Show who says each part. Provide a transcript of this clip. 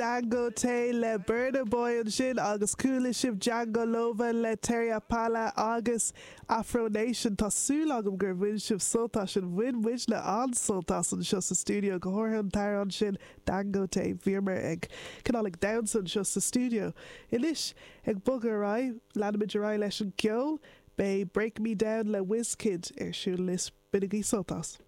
Speaker 1: Dangote le Burna Boy ansin agus chuala sibh Django Lova le Terry Apala agus Afro Nation. Tá súil agam gur bhain sibh sult as sin. Bhain muidne an-sult as anseo sa stiúideo, go háirithe an t-amhrán sin Dangote. Bhíomar ag cineál ag damhsa anseo sa stiúideo. Anois, ag bogadh ar aghaidh, leanfaimid ar aghaidh leis an gceol. Beidh Break Me Down le Wizkid ar siúl anois. Bainigí sult as.